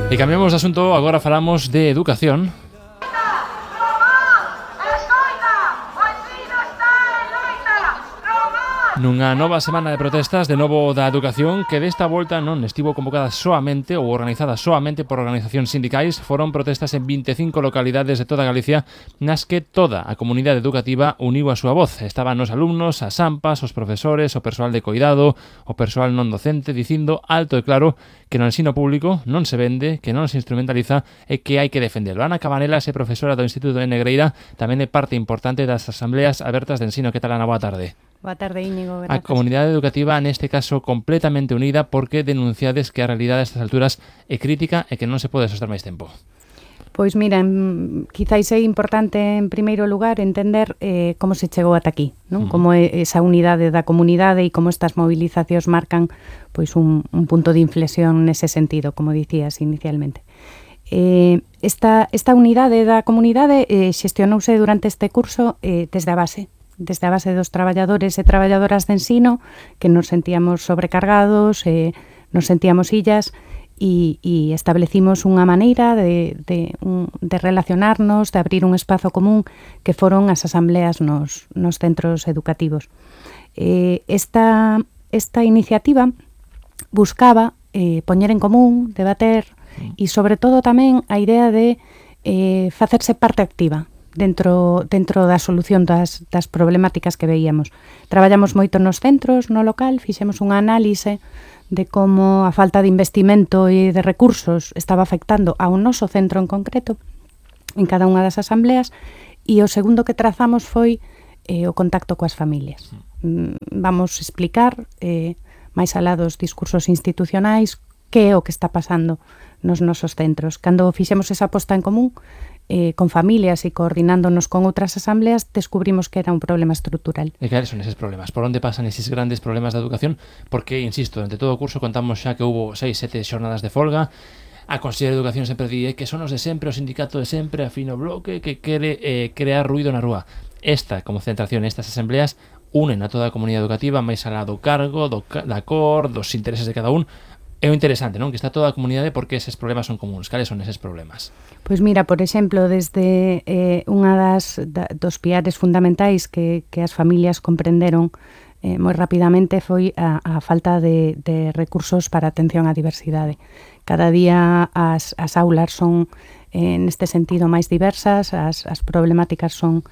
E cambiamos de asunto, agora falamos de educación. Nunha nova semana de protestas de novo da educación que desta volta non estivo convocada soamente ou organizada soamente por organizacións sindicais. Foron protestas en 25 localidades de toda Galicia nas que toda a comunidade educativa uniu a súa voz. Estaban os alumnos, as AMPAs, os profesores, o persoal de coidado, o persoal non docente, dicindo alto e claro que no ensino público non se vende, que non se instrumentaliza e que hai que defendelo. Ana Cabanelas é profesora do Instituto de Negreira, tamén é parte importante das asambleas abertas de ensino. Que tal, Ana? Boa tarde. Boa tarde, Íñigo. Gracias. A comunidade educativa, neste caso, completamente unida porque denunciades que a realidade a estas alturas é crítica e que non se pode soster máis tempo. Pois mira, quizáis é importante en primeiro lugar entender como se chegou ata aquí, non? Como é esa unidade da comunidade e como estas movilizacións marcan pois un punto de inflexión nese sentido, como dicías inicialmente. Esta unidade da comunidade xestionouse durante este curso desde a base dos traballadores e traballadoras de ensino, que nos sentíamos sobrecargados, nos sentíamos illas, e establecimos unha maneira de relacionarnos, de abrir un espazo común, que foron as asambleas nos centros educativos. Esta iniciativa buscaba poñer en común, debater, e sobre todo tamén a idea de facerse parte activa dentro da solución das problemáticas que veíamos. Traballamos moito nos centros, no local, fixemos unha análise de como a falta de investimento e de recursos estaba afectando ao noso centro en concreto, en cada unha das asambleas, e o segundo que trazamos foi o contacto coas familias. Vamos explicar, máis alá dos discursos institucionais, que é o que está pasando nos nosos centros. Cando fixemos esa posta en común, con familias e coordinándonos con outras asambleas, descubrimos que era un problema estrutural. E que son eses problemas? Por onde pasan eses grandes problemas da educación? Porque, insisto, durante todo o curso contamos xa que houve 6-7 xornadas de folga. A Conselleira de Educación sempre di que son os de sempre, o sindicato de sempre, a fino bloque, que quere crear ruido na rúa. Esta concentración, estas asambleas, unen a toda a comunidade educativa, máis alá do cargo, da cor, dos intereses de cada un. É o interesante, non? Que está toda a comunidade porque eses problemas son comuns. Cales son eses problemas? Pois mira, por exemplo, desde unha dos piares fundamentais que as familias comprenderon moi rapidamente foi a falta de recursos para atención á diversidade. Cada día as aulas son neste sentido máis diversas, as problemáticas son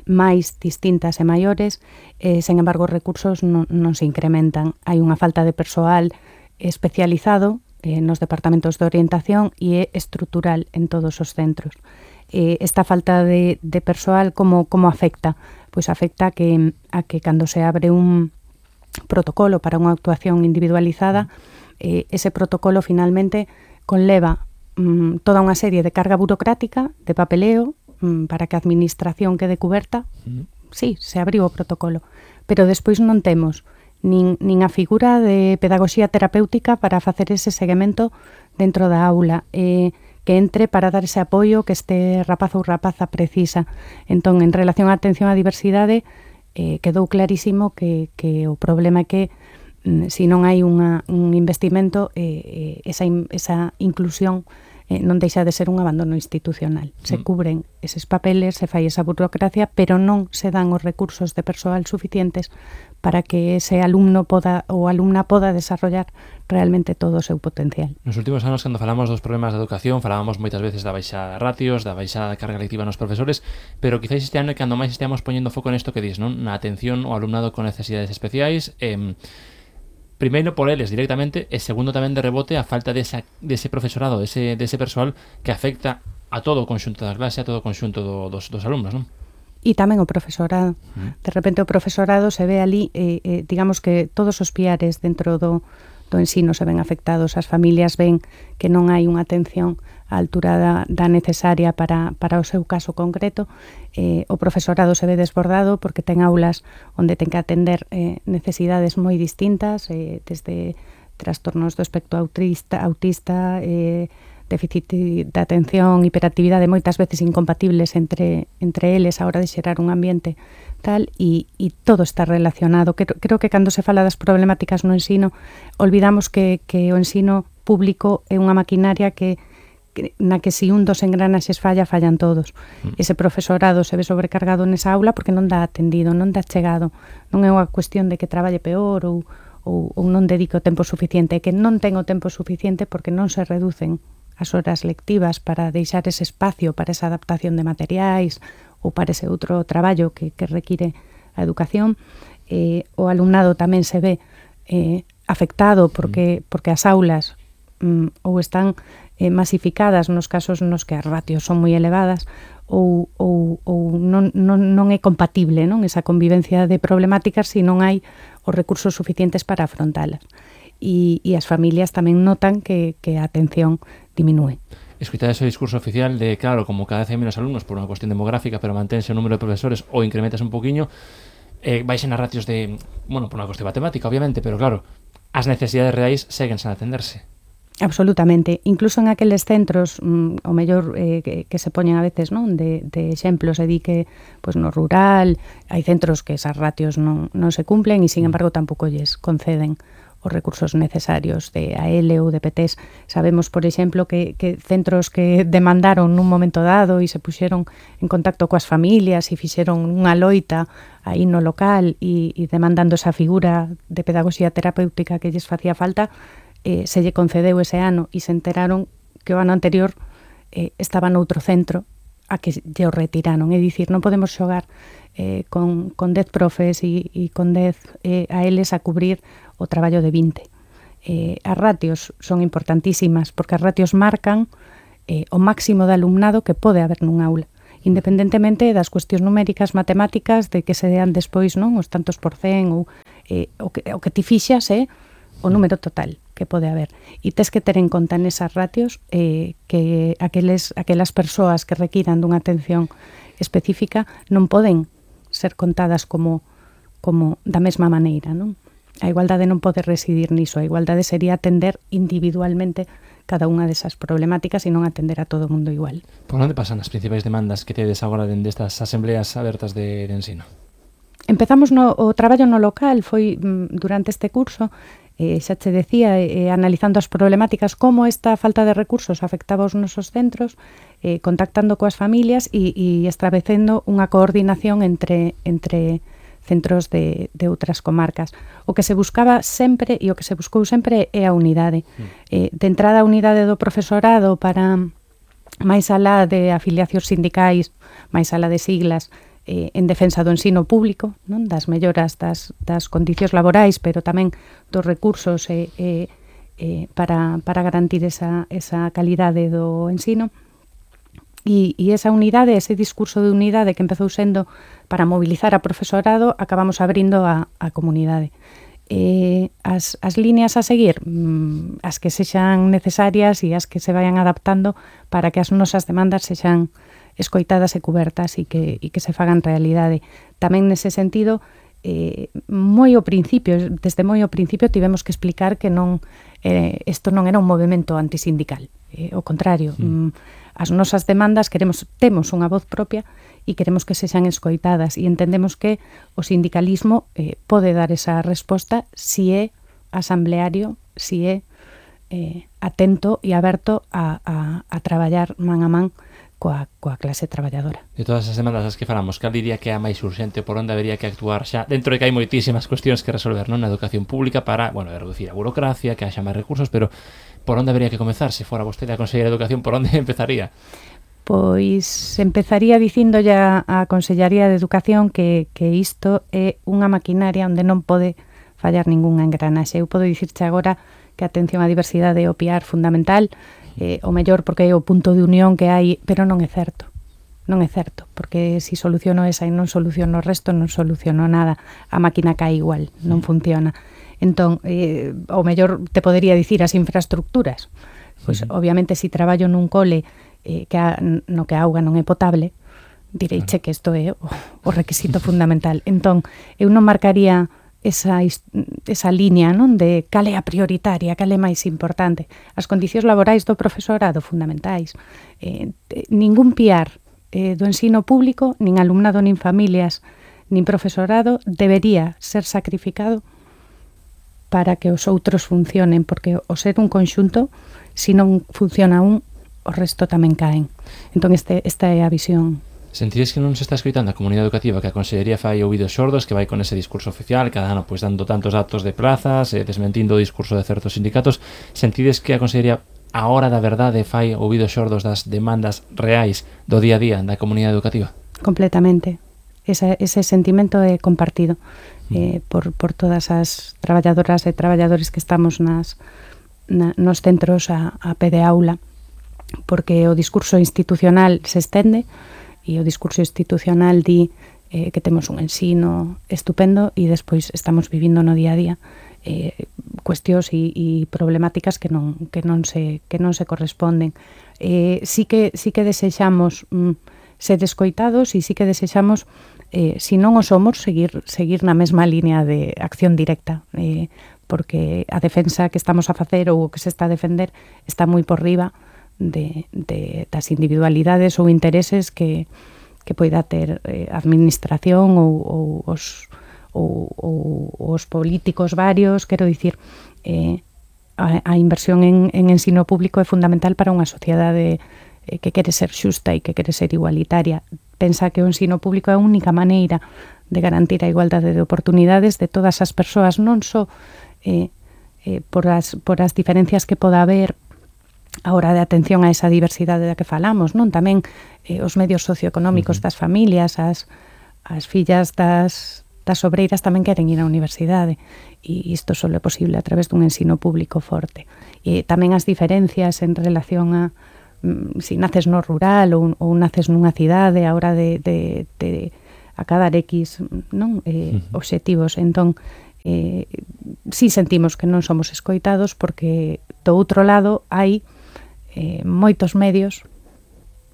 máis distintas e maiores, sen embargo os recursos non se incrementan. Hai unha falta de persoal especializado nos departamentos de orientación e é estrutural en todos os centros. Esta falta de persoal como afecta? Pois afecta a que cando se abre un protocolo para unha actuación individualizada, ese protocolo finalmente conleva toda unha serie de carga burocrática, de papeleo, para que a administración quede cuberta. Sí, se abriu o protocolo, pero despois non temos nin a figura de pedagogía terapéutica para facer ese seguimento dentro da aula, que entre para dar ese apoio que este rapaz ou rapaza precisa. Entón, en relación á atención á diversidade, quedou clarísimo que o problema é que se non hai un investimento, esa inclusión non deixa de ser un abandono institucional. Se cubren eses papeles, se fai esa burocracia, pero non se dan os recursos de persoal suficientes para que ese alumno ou alumna poda desarrollar realmente todo o seu potencial. Nos últimos anos, cando falamos dos problemas da educación, falábamos moitas veces da baixa de ratios, da baixa de carga lectiva nos profesores, pero quizás este ano é cando máis esteamos poñendo foco nesto que dis, non? Na atención ao alumnado con necesidades especiais, primeiro por eles directamente e segundo tamén de rebote a falta dese profesorado, dese persoal que afecta a todo o conxunto da clase, a todo o conxunto dos alumnos, non? E tamén o profesorado. De repente o profesorado se ve ali, digamos que todos os piares dentro do ensino se ven afectados, as familias ven que non hai unha atención á altura da necesaria para o seu caso concreto, o profesorado se ve desbordado porque ten aulas onde ten que atender necesidades moi distintas, desde trastornos do espectro autista, déficit de atención, hiperactividade, moitas veces incompatibles entre eles a hora de xerar un ambiente tal, e todo está relacionado. Creo que cando se fala das problemáticas no ensino, olvidamos que o ensino público é unha maquinaria na que se un dos engranaxes fallan todos. Ese profesorado se ve sobrecargado nesa aula porque non dá atendido, non dá chegado. Non é unha cuestión de que traballe peor ou non dedique o tempo suficiente, é que non ten o tempo suficiente porque non se reducen as horas lectivas para deixar ese espacio para esa adaptación de materiais ou para ese outro traballo que require a educación. O alumnado tamén se ve afectado porque as aulas ou están masificadas nos casos nos que as ratios son moi elevadas ou non é compatible, non, esa convivencia de problemáticas se non hai os recursos suficientes para afrontalas. E as familias tamén notan que a atención diminúe. Escoitar ese discurso oficial de, claro, como cada vez hai menos alumnos por unha cuestión demográfica, pero manténse o número de profesores ou incrementas un poquinho, baixen as ratios de, bueno, por unha cuestión matemática, obviamente, pero claro, as necesidades reais seguen sen atenderse. Absolutamente. Incluso en aqueles centros, o mellor que se poñen a veces, non, de exemplos, e di que pues, no rural hai centros que esas ratios non se cumplen e, sin embargo, tampouco lles conceden os recursos necesarios de AL ou de PTs. Sabemos, por exemplo, que centros que demandaron nun momento dado e se puxeron en contacto coas familias e fixeron unha loita aí no local e demandando esa figura de pedagogía terapéutica que lles facía falta, se lle concedeu ese ano e se enteraron que o ano anterior estaba noutro centro a que lle o retiraron. É dicir, non podemos xogar con 10 profes e con 10 ALs a cubrir o traballo de 20. As ratios son importantísimas porque as ratios marcan o máximo de alumnado que pode haber nun aula, independentemente das cuestións numéricas, matemáticas, de que se dean despois, non, os tantos por cen ou o que ti fixas o número total que pode haber. E tes que ter en conta nesas ratios que aquelas persoas que requiran dunha atención específica non poden ser contadas como da mesma maneira, non? A igualdade non pode residir niso, a igualdade sería atender individualmente cada unha desas problemáticas e non atender a todo o mundo igual. Por onde pasan as principais demandas que tedes agora dende estas asembleas abertas de ensino? Empezamos o traballo no local, foi durante este curso, xa che decía, analizando as problemáticas, como esta falta de recursos afectaba os nosos centros, contactando coas familias e establecendo unha coordinación entre centros de outras comarcas. O que se buscaba sempre e o que se buscou sempre é a unidade. De entrada a unidade do profesorado para máis alá de afiliacións sindicais, máis alá de siglas, en defensa do ensino público, non, das melloras das condicións laborais, pero tamén dos recursos para garantir esa calidade do ensino. E esa unidade, ese discurso de unidade que empezou sendo para mobilizar a profesorado, acabamos abrindo a comunidade. As líneas a seguir, as que sexan necesarias e as que se vayan adaptando para que as nosas demandas sexan escoitadas e cubertas e que se fagan realidade. Tamén nese sentido, desde moi ao principio tivemos que explicar que isto non era un movimento antisindical, ao contrario, as nosas demandas temos unha voz propia e queremos que sexan escoitadas e entendemos que o sindicalismo pode dar esa resposta si é asambleario, si é atento e aberto a traballar man a man coa clase traballadora. De todas as demandas as que falamos, cal diría que é a máis urxente, por onde habería que actuar xa, dentro de que hai moitísimas cuestións que resolver, non, na educación pública para, reducir a burocracia, que haxa máis recursos, pero por onde habería que comezar? Se fora vostede a Conselleira de Educación, por onde empezaría? Pois empezaría dicindo ya a Consellería de Educación que isto é unha maquinaria onde non pode fallar ningunha engranaxe. Eu podo dicirche agora que a atención á diversidade é o piar fundamental, o mellor porque é o punto de unión que hai, pero non é certo. Non é certo, porque se soluciono esa e non soluciono o resto, non soluciono nada. A máquina cae igual, non funciona. Entón, o mellor te podería dicir as infraestructuras. Pois, obviamente, se traballo nun cole no que a auga non é potable, direiche que isto é o requisito fundamental. Entón, eu non marcaría esa línea, non, de cal é a prioritaria, cal é máis importante. As condicións laborais do profesorado fundamentais. Ningún piar do ensino público, nin alumnado, nin familias, nin profesorado debería ser sacrificado para que os outros funcionen, porque o ser un conxunto, se non funciona un, o resto tamén caen. Entón, esta é a visión. Sentides que non se está escoitando a comunidade educativa, que a Consellería fai ouvidos xordos, que vai con ese discurso oficial, cada ano pois dando tantos datos de plazas, desmentindo o discurso de certos sindicatos? Sentides que a Consellería, a hora da verdade, fai ouvidos xordos das demandas reais do día a día da comunidade educativa? Completamente. Ese sentimento é compartido por todas as traballadoras e traballadores que estamos nos centros a pé de aula, porque o discurso institucional se estende e o discurso institucional di que temos un ensino estupendo e despois estamos vivindo no día a día cuestións e problemáticas que non se corresponden. Sí que desexamos ser escoitados e sí que desexamos, se non o somos, seguir na mesma línea de acción directa, porque a defensa que estamos a facer ou o que se está a defender está moi por riba das individualidades ou intereses que poida ter a administración ou os políticos varios. Quero dicir, a inversión en ensino público é fundamental para unha sociedade que quere ser xusta e que quere ser igualitaria. Pensa que o ensino público é a única maneira de garantir a igualdade de oportunidades de todas as persoas, non só por as diferencias que poda haber a hora de atención a esa diversidade da que falamos, non? Tamén os medios socioeconómicos das familias, as fillas das obreiras tamén queren ir á universidade, e isto só é posible a través dun ensino público forte. E tamén as diferencias en relación a se naces no rural ou naces nunha cidade a hora de acadar X, non? Obxectivos. Entón, si sentimos que non somos escoitados porque do outro lado hai moitos medios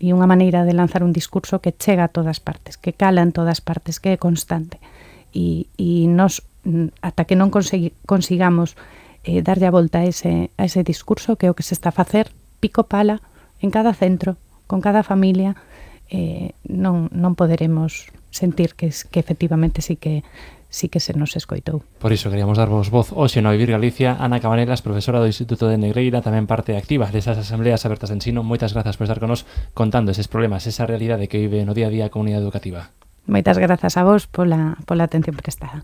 e unha maneira de lanzar un discurso que chega a todas partes, que cala en todas partes, que é constante, e nos, ata que non consigamos darlle a volta a ese discurso, que é o que se está a facer pico pala en cada centro, con cada familia, non poderemos sentir que efectivamente sí que se nos escoitou. Por iso queríamos darvos voz hoxe no Vivir Galicia. Ana Cabanelas, profesora do Instituto de Negreira, tamén parte activa desas asambleas abertas de ensino. Moitas grazas por estar con nos contando eses problemas, esa realidade que vive no día a día a comunidade educativa. Moitas grazas a vos pola atención prestada.